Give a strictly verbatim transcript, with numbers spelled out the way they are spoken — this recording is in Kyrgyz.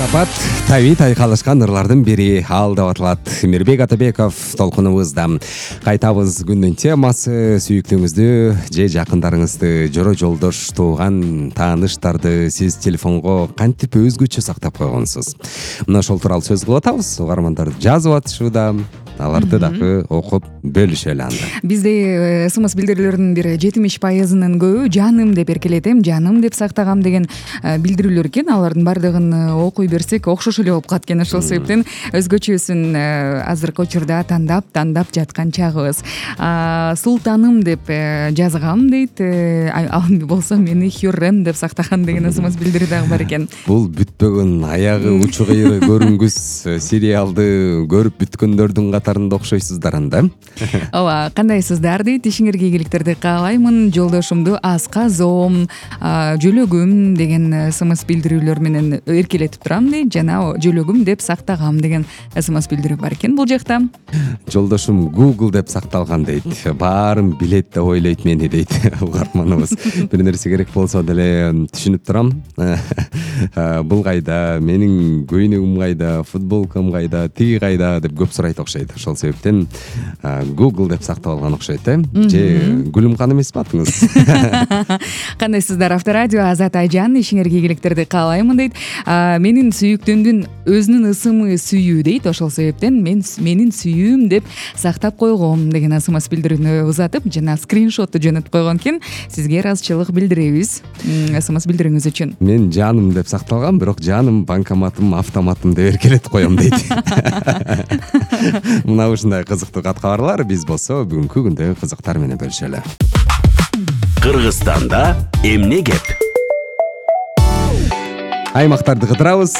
Сапат таби тайкалышкан ырлардын бири ал деп аталат. Мирбек Атабеков толкунубузда. Кайтабыз күндүн темасы сүйүктүүңүздү же жакындарыңызды, жора жолдош, тууган, тааныштарды сиз телефонго кантип өзгөчө сактап койгонсуз? Мына ошол тууралуу сөз кылып атабыз. Угармандар жазып атышууда. Аларды дагы окуп бөлүшөлү анда. Бизде смс билдирүүлөрдүн бир жетимиш пайызынын көбү жаным деп эркелетем, жаным деп сактагам деген билдирүүлөр экен. Алардын баардыгын окуй берсек окшош эле болуп калат экен. Ошол себептен өзгөчөсүн азыркы учурда тандап тандап жаткан чагыбыз. Султаным деп жазгам дейт. Ал болсо мени Хюррем деп сактаган деген смс билдирүү дагы бар экен. Бул бүтпөгөн аягы учу кыйры көрүнгүс сериалды көрүп бүткөндөрдүн катарында окшойсуздар анда. Ооба, кандайсыздар дейт. Ишиңерге ийгиликтерди каалаймын. Жолдошумду асказом, жөлөгүм деген смс билдирүүлөр менен эркелетип турам дейт. Жана жөлөгүм деп сактагам деген смс билдирүү бар экен бул жакта. Жолдошум Google деп сакталган дейт. Баарын билет деп ойлойт мени дейт угарманыбыз. Бир нерсе керек болсо деле түшүнүп турам. Бул кайда, менин көйнөгүм кайда, футболкам кайда, тиги кайда деп көп сурайт окшойт. Ошол себептен Google деп сактап алган окшойт, э? Же Гүлүм ханым эмеспи атыңыз? Кандайсыздар? Авторадио Азат Айжан, ишиңерге ийгиликтерди каалаймын дейт. Менин сүйүктүүмдүн өзүнүн ысымы сүйүү дейт. Ошол себептен мен менин сүйүүм деп сактап койгом деген смс билдирүүнү узатып, жана скриншотту жөнөтүп койгон экен. Сизге ыраазычылык билдиребиз смс билдирүүңүз үчүн. Мен жаным деп сакталгам, бирок жаным банкоматым, автоматым деп эркелетип коем дейт. Мына ушундай кызыктуу кат кабарлар биз болсо бүгүнкү күндө кызыктар менен бөлүшөлү. Кыргызстанда эмне кеп? Аймактарды кыдырабыз.